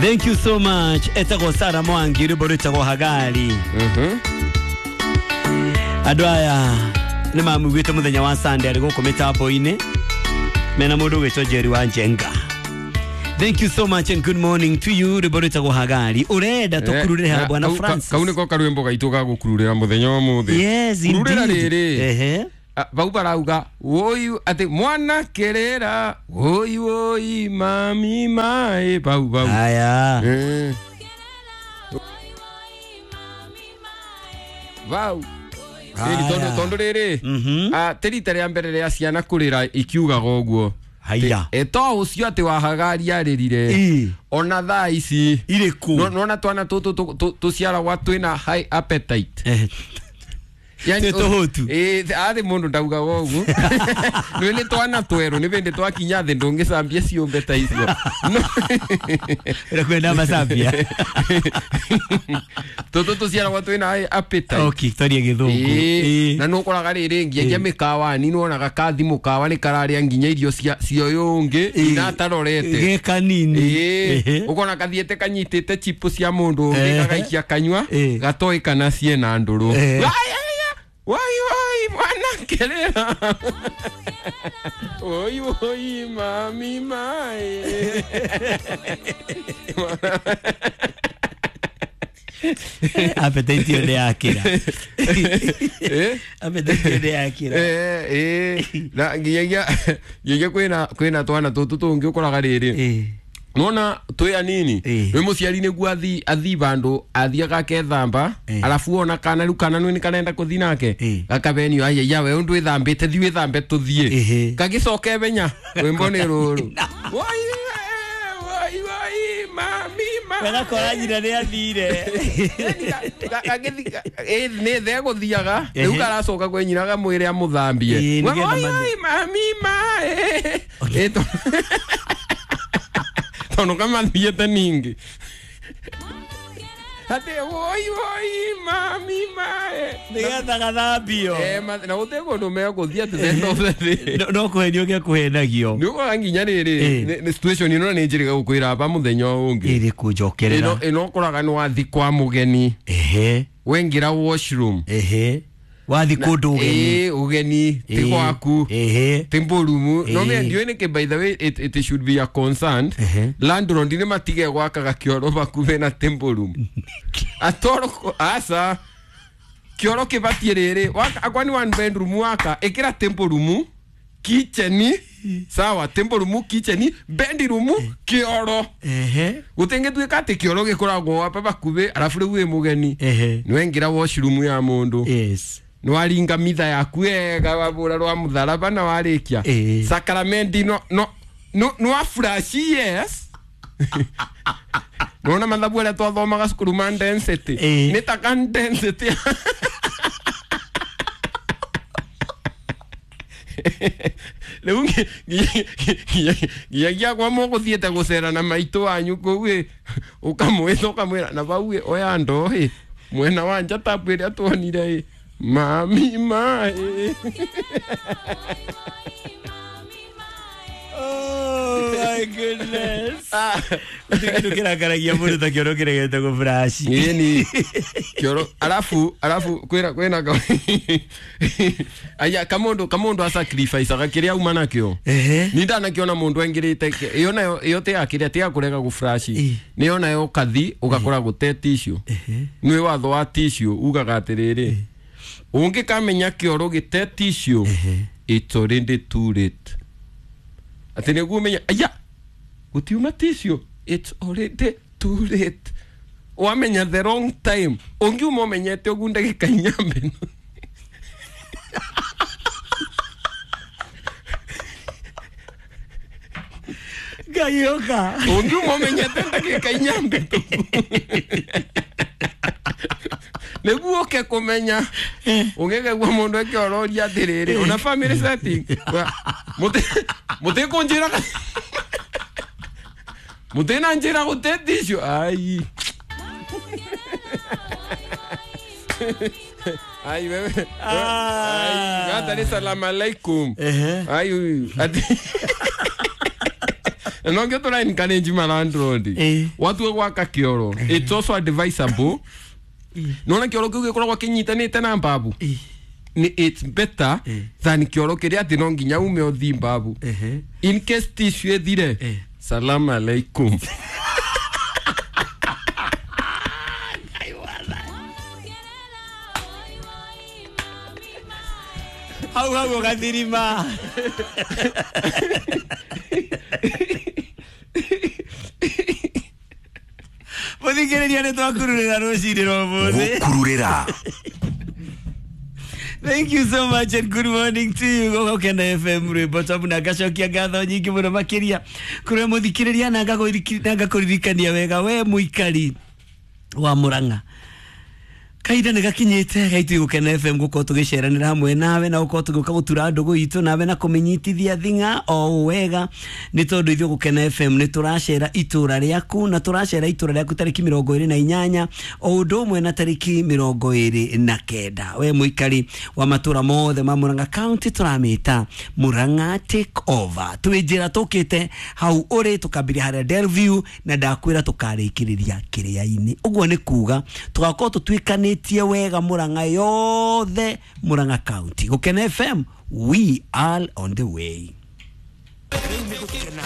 Thank you so much. Etagwo Sara Mwangi rwimbo rwĩtagwo Hagari. Andũ aya nĩ mamugĩte mũthenya wa Sunday arĩ gũkũ mĩtambo-inĩ mena mũndũ ũgwĩtwo Jerry wa Njenga. Thank you so much and good morning to you. Rwimbo rwĩtagwo Hagari. Ũrenda tũkururĩre ha Bwana Francis. Kau nĩko karwĩmbo gaitũ ga gũkururĩra mũthenya wa ũmũthĩ. Yes, indeed. Kururĩra rĩrĩ. Ehe. Vau barauga woi ati mwana kerera woi woi mami mae bau bau. Aya. Bau. Ĩni tondu tondu rĩrĩ. Te rita rĩa mbere rĩa ciana kũrĩra ikiugaga ũguo. Haya. To ũcio atĩ wa Hagari arĩrire. Ona thaa ici irĩkũ? Nona twana tũtũ tũciaragwa twĩna high appetite. Yani tohotu. Athi mundu ndaugaga ũguo. Nĩ nĩ twana twerũ nĩ bĩndĩ twakinya thĩ ndũngĩcambia ciũmbe ta icio. Ũrakwenda macambia. Tũtũ tũciaragwo twĩna high appetite. Okay, twarie gĩthũngũ. Na nĩ ũkoraga rĩrĩ nginya mĩkawa-inĩ nĩwonaga kathi mũkawa nĩ kararĩa nginya irio cia ũyũ ũngĩ ina atarorete. Ge kanini. Ũkona kathiĩte kanyitĩte chipu cia mũndũ ũngĩ gagaikia kanyua gatoĩ kana ciena ndũrũ. Wai wai mwana kerera. Woi woi mami mae. Appetite yo nĩ yakĩra. Appetite yo nĩ yakĩra. Na nginyagia kwĩna twana tũtũ tũngĩ ũkoraga rĩrĩ. Nona twĩ anini rĩ mũciari nĩguo athi bandũ athiaga akethamba arabu ona kana rĩu kana nĩ karenda kũthi nake gakabenio aiya we ũndũ wĩthambĩte thi wĩthambe tũthiĩ gagĩcoke benya rwĩmbo nĩ rũrũ. Wai wai wai mami mami. Gagakora nyina nĩ athire. Nĩ thegũthiaga rĩu karacoka kwĩ nyina gamwĩre amũthambie. Wai wai mami mae. Tono kama thiete ningi. Ate woi woi mami mae. Nigetha gathambio. Na gũtirĩ kũndũ megũthiĩ atĩ thendo. No kũhenio gĩa kũhenagio. Nĩ ũkoraga nginya rĩrĩ nĩ situation ĩno nĩ njĩrĩga gũkwĩra aba mũthenya ũngĩ. Ĩrĩ kũnjokerera. Ĩno ũkoraga nĩ wathi kwa mũgeni. Wengĩra washroom. Wathi kũndũ ũgeni. Ũgeni ti gwaku. Ti mbũrumu. No me ndiũĩ nĩkĩ, by the way it should be a concern. Landlord nĩ matige gwakaga kĩoro hakuhĩ na temple. Atoro asa kĩoro kĩbatiĩ rĩrĩ akwa nĩ one bedroom waka ĩkĩra temple room kitchen sawa temple room kitchen bedroom kĩoro. Gũtingĩtuĩka atĩ kĩoro gĩkoragwo apa hakuhĩ arabu rĩu wĩ mũgeni nĩwengĩra washroom ya mũndũ. Yes. Nwaringa mitha yaku wega wabura rwa mutharaba na warikia sakramenti no no no no flash yes. Nona mathabu aria twathomaga cukuru ma density nĩ ta ka density. Rĩu nginyagia kwa mũgũthiĩte gũcera na maitũ wanyu kũu ĩ ũkamwĩta ũkamwĩra na bau ĩ oya ndoo ĩ mwena wa nja tabu ĩrĩa tuonire ĩ mami mae. Oh my goodness. Kindu kirakaragia mundu ta kioro kiregete gå flash. Ni kioro alafu kwira kwina aya kamundu a sacrifice agakiria uma nakio. Ni ndanakiona mundu engirite iyo nayo iyo te akiria te akurega gå flash. Ni ona yo kathi ugakora gute tissue. Ni watho wa tissue ugaga atiriri. Ungikamenya kioro gite tissue it's already too late. Ati nĩguo ũmenye aya gũtiuma tissue it's already too late. Wamenya the wrong time. Ũngiuma ũmenyete ũguo ndagĩka inya mbere. Gayoka. Ũngiuma ũmenyete ndagĩka inya mbere. Nĩguo ũke kũmenya ũngĩkegua mũndũ akĩororia atĩrĩrĩ ona family setting mũtĩkũnjĩra mũtĩnanjĩra gũte tissue ai ai wewe ai gatari salamu alaikum ai ati Na nongä tå ra encourage ma landlord watua gwaka kä it's also advisable nona kä oro kä u gä koragwo kä nyitanä te na mbabu ni it's better than kä oro kä rä atä no nginya ume å thi mbabu in case tissue ĩthire salam alaikum. Hau hau ũgathirima. Mũthikĩrĩria nĩ twakururĩra rũcinĩ rwa ũmũthĩ. Gũkururĩra. Thank you so much and good morning to you. Gũkena FM rwĩmbo tamu na ngacokia ngatho nyingĩ mũno makĩria kũrĩ mũthikĩrĩria na ngakũririkania wega we mũikari wa Murang'a. Kahinda nĩ gakinyĩte gaitũ Gũkena FM gũkorwo tũgĩceranĩra hamwe nawe na gũkorwo tũgĩũka gũtura ndũgũ itũ nawe na kũmĩnyitithia thing'a o wega nĩ tondũ ithuĩ Gũkena FM nĩ tũracera itũra rĩaku na tũracera itũra rĩaku tarĩki 28 o ũndũ ũmwe na tarĩki 29. We mũikari wa matũra mothe ma Murang'a County tũramĩta Murang'a Take Over. Twĩ njĩra tũkĩte hau ũrĩ tũkambĩrĩria harĩa Delview na ndakwĩra tũkarĩkĩrĩria kĩrĩa-inĩ. Ũguo nĩ kuga tũgakorwo tũtuĩkanĩtie wega Murang'a yothe, Murang'a County. Gũkena FM, we are on the way. Gũkena.